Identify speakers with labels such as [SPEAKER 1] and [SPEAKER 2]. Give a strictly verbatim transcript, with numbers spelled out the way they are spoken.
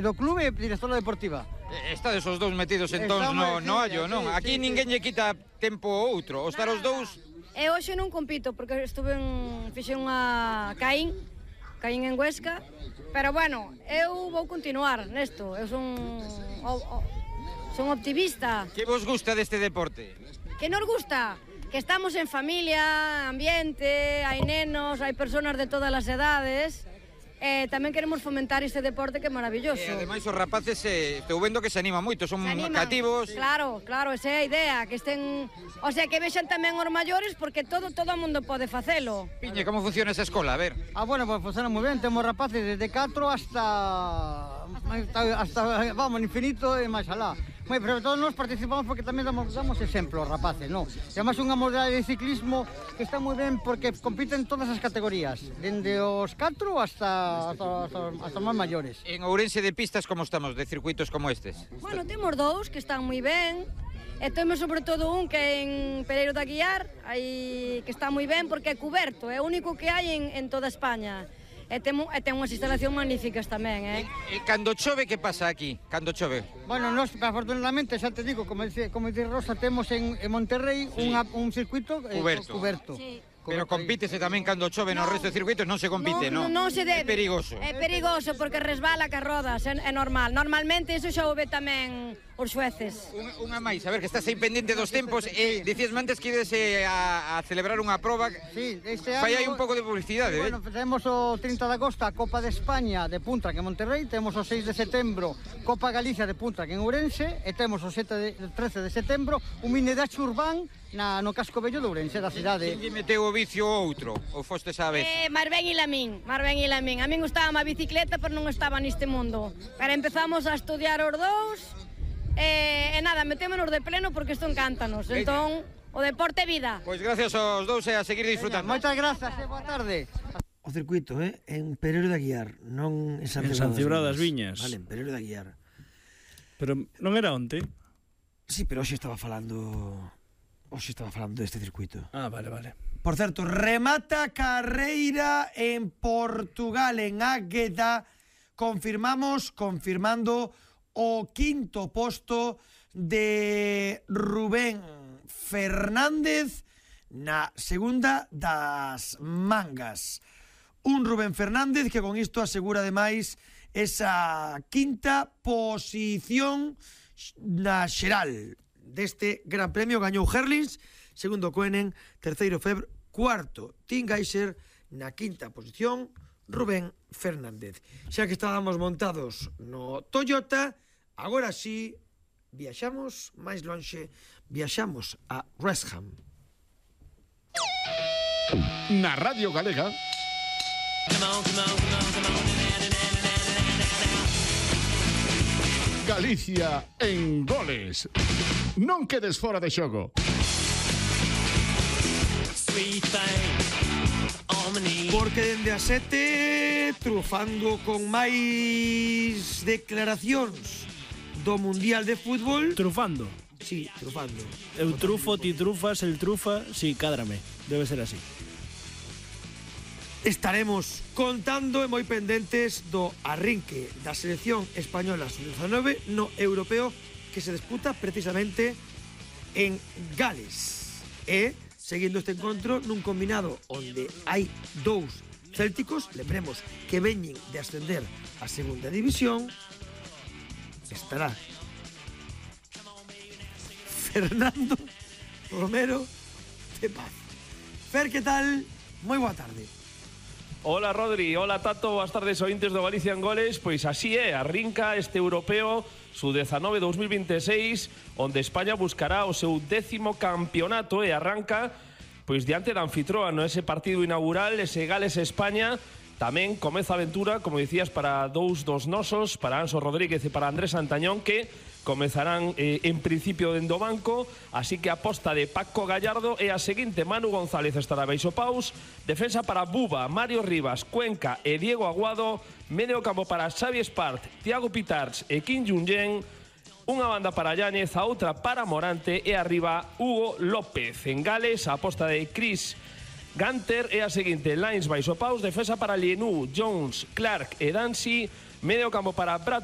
[SPEAKER 1] do clube e directora deportiva.
[SPEAKER 2] Estades os dous metidos entón no, no hallo, non? Aquí ninguén lle quita tempo ao outro, os estar os dous...
[SPEAKER 3] E hoxe non compito, porque estuve en... fixe unha Caín, Caín en Huesca, pero bueno, eu vou continuar nesto, eu son... O, o, son optimista.
[SPEAKER 2] Que vos gusta deste deporte?
[SPEAKER 3] Que nos gusta? Que estamos en familia, ambiente, hai nenos, hai personas de todas as edades... Eh, tamén queremos fomentar este deporte que é maravilloso.
[SPEAKER 2] E ademais os rapaces, eh, estou vendo que se animan moito, son cativos.
[SPEAKER 3] Claro, claro, esa é a idea, que estén, o sea, que vexan tamén os maiores, porque todo todo o mundo pode facelo.
[SPEAKER 2] Piñe, como funciona esa escola? A ver.
[SPEAKER 1] Ah, bueno, pues funciona moi ben, temos rapaces desde catro hasta hasta vamos, infinito e máis alá. Moi, pero todos nós participamos porque tamén damos, damos exemplo aos rapaces, non? E además unha modalidade de ciclismo que está moi ben porque compiten todas as categorías, dende os catro hasta hasta, hasta, hasta máis maiores.
[SPEAKER 2] En Ourense de pistas como estamos, de circuitos como estes?
[SPEAKER 3] Bueno, temos dous que están moi ben, e temos sobre todo un que é en Pereiro de Aguiar, aí que está moi ben porque é cuberto, é o único que hai en, en toda España. E ten, e ten unhas instalacións magníficas tamén, eh?
[SPEAKER 2] E, e cando chove, que pasa aquí? Cando chove?
[SPEAKER 1] Bueno, nós, afortunadamente, xa te digo, como dice, como dice Rosa, temos en, en Monterrey sí. unha, un circuito eh,
[SPEAKER 2] cuberto.
[SPEAKER 1] cuberto.
[SPEAKER 3] Sí.
[SPEAKER 2] Pero compítese tamén cando chove no, no resto de circuitos, non se compite, non?
[SPEAKER 3] Non, non se debe.
[SPEAKER 2] É perigoso.
[SPEAKER 3] É perigoso porque resbala ca rodas, é, é normal. Normalmente iso xa o ve tamén os xueces.
[SPEAKER 2] Unha, unha máis, a ver, que estás aí pendente dos tempos e dicías antes que ides a, a celebrar unha proba.
[SPEAKER 1] Sí, este ano...
[SPEAKER 2] Fai aí un pouco de publicidade,
[SPEAKER 1] sí,
[SPEAKER 2] eh?
[SPEAKER 1] Bueno, temos o trinta de agosto a Copa de España de Punta, que en Monterrey, temos o seis de setembro Copa Galicia de Punta, que en Ourense, e temos o sete de, trece de setembro un mini dacho urbán na, no casco bello de Ourense, da cidade.
[SPEAKER 2] Quen lle meteu o vicio ao outro? Ou fostes a vez?
[SPEAKER 3] Eh, mar ben ila min, mar ben ila min. A min gustaba a bicicleta, pero non estaba neste mundo. Pero empezamos a estudiar os dous, e, e nada, metémonos de pleno porque isto encántanos. Entón, o deporte é vida.
[SPEAKER 2] Pois gracias aos dous e a seguir disfrutando.
[SPEAKER 1] Moitas grazas e boa tarde.
[SPEAKER 4] O circuito, eh? En Pereiro de Aguiar, non en San
[SPEAKER 5] Cibrao das Viñas.
[SPEAKER 4] Vale, en Pereiro de Aguiar.
[SPEAKER 5] Pero non era onte?
[SPEAKER 4] Sí, pero hoxe estaba falando... Hoxe estaba falando deste circuito.
[SPEAKER 5] Ah, vale, vale.
[SPEAKER 4] Por certo, remata carreira en Portugal, en Águeda. Confirmamos, confirmando o quinto posto de Rubén Fernández na segunda das mangas. Un Rubén Fernández que con isto asegura ademais esa quinta posición na xeral deste Gran Premio. Gañou Herlings, segundo Koenen, terceiro Febr, cuarto Tim Geiser, na quinta posición Rubén Fernández. Xa que estábamos montados no Toyota, agora sí viaxamos máis lonxe, viaxamos a West Ham.
[SPEAKER 6] Na Radio Galega Galicia en goles. Non quedes fora de xogo.
[SPEAKER 4] Porque dende a sete trufando con máis declaracións do Mundial de Fútbol.
[SPEAKER 5] Trufando?
[SPEAKER 4] Sí, trufando.
[SPEAKER 5] Eu trufo, ti trufas, el trufa, sí, cádrame. Debe ser así.
[SPEAKER 4] Estaremos contando e moi pendentes do arrinque da selección española sub dezanove no europeo que se disputa precisamente en Gales. E, seguindo este encontro, nun combinado onde hai dous célticos, lembremos que veñen de ascender a segunda división, estará Fernando Romero de Paz. Fer, que tal? Moi boa tarde.
[SPEAKER 7] Hola Rodri, hola Tato, boas tardes ointes do Galicia en Goles. Pois así é, arrinca este europeo sub dezanove dos mil veintiséis, onde España buscará o seu décimo campeonato e arranca pois diante da anfitroa no ese partido inaugural, ese Gales-España. Tamén comeza a aventura, como dicías, para dous dos nosos, para Anso Rodríguez e para Andrés Antañón, que comezarán eh, en principio dende o banco. Así que a aposta de Paco Gallardo é a seguinte: Manu González estará baixo paus, defensa para Buba, Mario Rivas, Cuenca e Diego Aguado, medio campo para Xavi Espart, Thiago Pitarch e Kim Jong-jen, unha banda para Yáñez, a outra para Morante e arriba Hugo López. En Gales, a aposta de Chris Gunter é a seguinte: Lines baixo paus, defensa para Lienu, Jones, Clark e Dancy, medio campo para Brad